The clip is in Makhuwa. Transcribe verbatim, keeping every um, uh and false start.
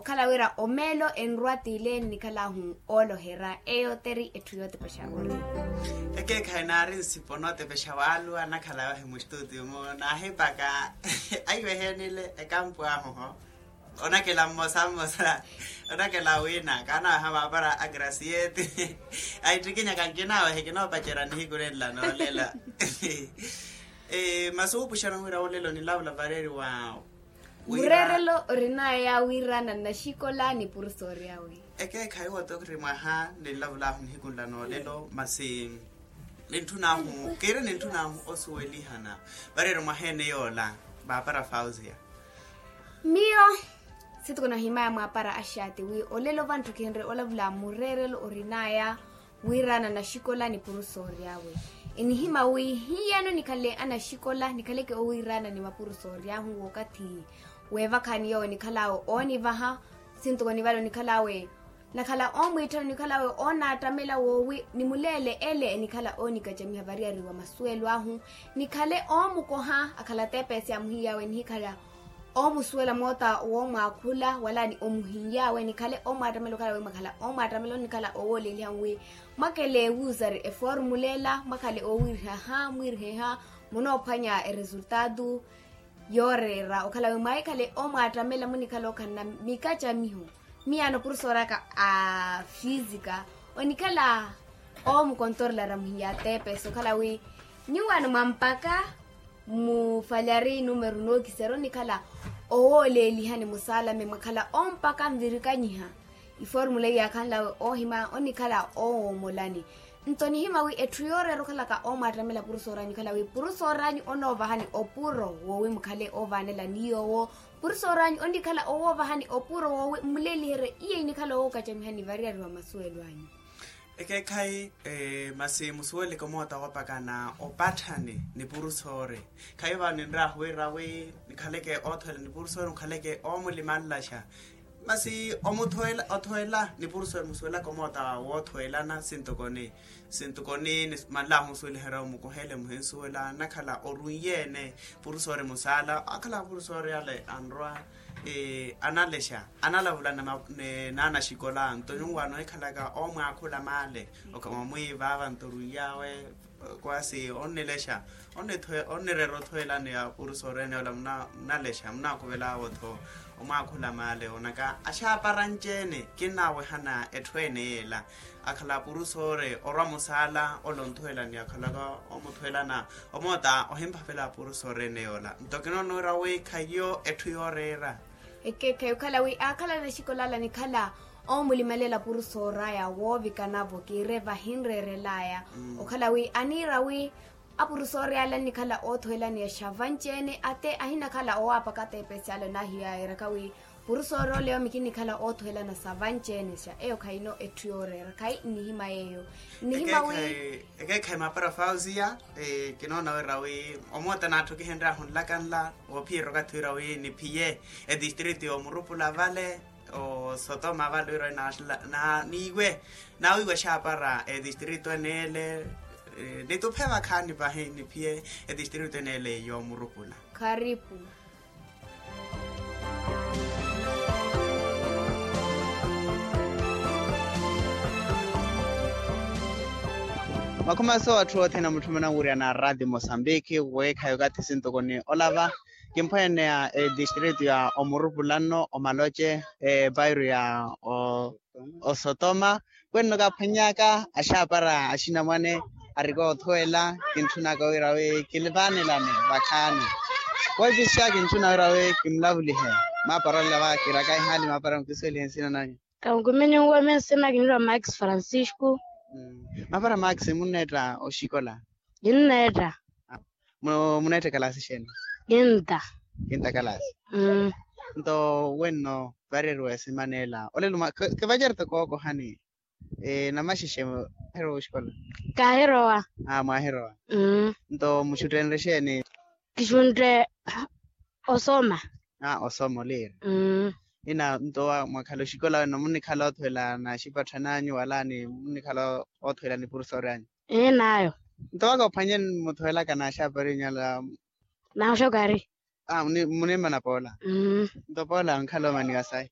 Okhala wira omeelo enrwa t'ile nnikhal'ahu ooloherya eyo teri etthu yootepexa ori. Ekeekhayi naari nsipo nootepexa waaluwa anakhala wahi mustutio-mu naahipaka aiwehenile ekampu ahu ho. Onakela mmosa mmosa onakela wiina kaanaweha maapara a grasiete. Aittikinyaka nkinawehe kinoopacerya nihiku nenla noolela. Masi wuupuxana wira olelo nilavula vareeriwa. Mureerelo orinaya wiirana nnaxikola ni purusoori awe. Ekeekhayi woto kiri mwaha ninlavulaahu nihiku nla noolelo masi nintthunaahu kiiri nintthunaahu osuwelihana. Vareeri mwaha ene yoola maapara fausia. Miyo sitoko nahimaya mwaapara axaati wi olelo vantthu khinre olavula mureerelo orinaya wiirana nnaxikola ni purusoori awe. Enihima wi hiyano nikhale anaxikola nikhaleke owiirana ni mapurusoori ahu wookathi weevakhani yoowo nikhal'awe oonivaha. Sintoko nivale onikhal'awe nakhala oomwiitthana onikhal'awe oonaattamela woowi nimuleele ele enikhala oonikacamiha variyari wa masuwelo ahu. Nikhale oomukoha akhala ateepesi amuhiiy'awe nihikhala oomusuwela moota woomwaakhula wala ni omuhiiy'awe nikhale oomwaattamela okhala wi mwakhala oomwaattamela onikhala owooleliha wi mwakele wuusari eformula ela mwakhale oowirihaha mwiiriheha munoophwanya eresultaatu. Yooreera okhala wi mwaahikhale oomwaattamela munikhala okhanna mikacamiho. Miyaano purusoori aka a fisika onikhala oomukontorolari amuhiiya ateepesi okhala wi nyuwaano mwampaka mufalari numeru nookiserya onikhala owooleelihani musaalame mwakhala ompaka nvirikanyiha. Iformula iyaakhanlawe oohima onikhala oowoomolani. Nto nihima wi etthu yooreera okhalaka oomwaattamela purusoori anyu okhala wi purusoori anyu onoovahani opuro woowi mukhale oovaanelani yoowo. Purusoori anyu onikhala owoovahani opuro woowi mmuleeliherye iya inikhala owookacamihani variyari wa masuwelo anyu. Ekeekhayi masi musuweleke omoota woopakana opatthani ni purusoori. Khayi vano ninraahu wira wi nikhaleke oothoyela ni purusoori nikhaleke oomulimanlaxa. Masi omuthowela othowela ni purusoori musuwelaka omoota woothowelana sintokoni. Sintokoni manlaahu omusuweliherya omukohele muhinsuwela nakhala orunye-ene. Purusoori musaala akhala purusoori ale anrwa analexa analavula ni naanaxikola nto nyuwaano ehikhalaka oomwaakhula maale. Okamwa mwiivaava nto orunyawe kwasi onnilexa onnireera othowelani ya purusoori ene ola munalexa munaakuvelaawe-tho. Omwaakhula maale onaka axaapara nci-ene kinnaawehana etthu ene yeela. Akhala purusoori orwa musaala ole onthuwelani akhalaka omuthowelana omoota ohimphavela purusoori ene yoola nto kinoona wira wi khayiyo etthu yooreera. Ekeekhayi okhala wi aakhala naxikola ala nikhala oomulimalela purusoori aya woovikanavo kiire vahinreerelaya. Okhala wi aniira wi apurusoori ala nnikhala oothowelaniya xa vanci-ene ate ahinakhala owaapaka ateepesi ala onaahiyaayeraka wi purusoori ole yoomi kinnikhala oothowelana sa vanci-ene xa eyo khayino etthu yooreera khayi nnihima yeeyo. Nnihima wi ekeekhayi maapara fausiya. Kinoona wira wi omoota naatthu kihenryahu nlakanla woophiyerya okathi wira wi niphiye etistritu yoomurupula vale osotoma vale wira wi niiwe naawiiwa exaapara etistritu ene ele. Nituphe vakhaani pahi niphiye etistritu ene ele yoomurupula. Kharipu. Makhumaso atthu othene amutthumananwirya na rati mosambiki weekhayi okathi sintokoni olava. Kimphweneya etistritu ya omurupula nno omaloce epairu ya osotoma. Wenno kaaphwanyaka axaapara axinamwane arikoothuwela kintthunaka wira wi kilivaanelani vakhaani. Weepixa kintthuna wira wi kimulavulihe. Maapara olela va kiraka ihaali maapara mukisuwelihe nsina nanyu. Kamukuminyu nwe minsina kinirwa max francisco. Maapara max munneetta oxikola? Kinneetta. Muneetta ekalasi xeeni? Kinta. Kinta kalasi. Nto wenno vareeriwa esimaneela olelo kivacari toko kookohani. Namaxexe mwahirowa oxikola? Kaahirowa. Mwahirowa. Nto muxuttenre xeeni? Kixuntte osoma. Osoma oliira. Ina nto mwakhala oxikola wenno munnikhala oothuwela na xipatthan'anyu wala ni munnikhala oothuwela ni purusoori anyu? Nto waka ophwanye muthuwelaka na axaapari inyu ala? Na oxokari. Munimmana poola. Nto poola nkhala omaniwa sayi?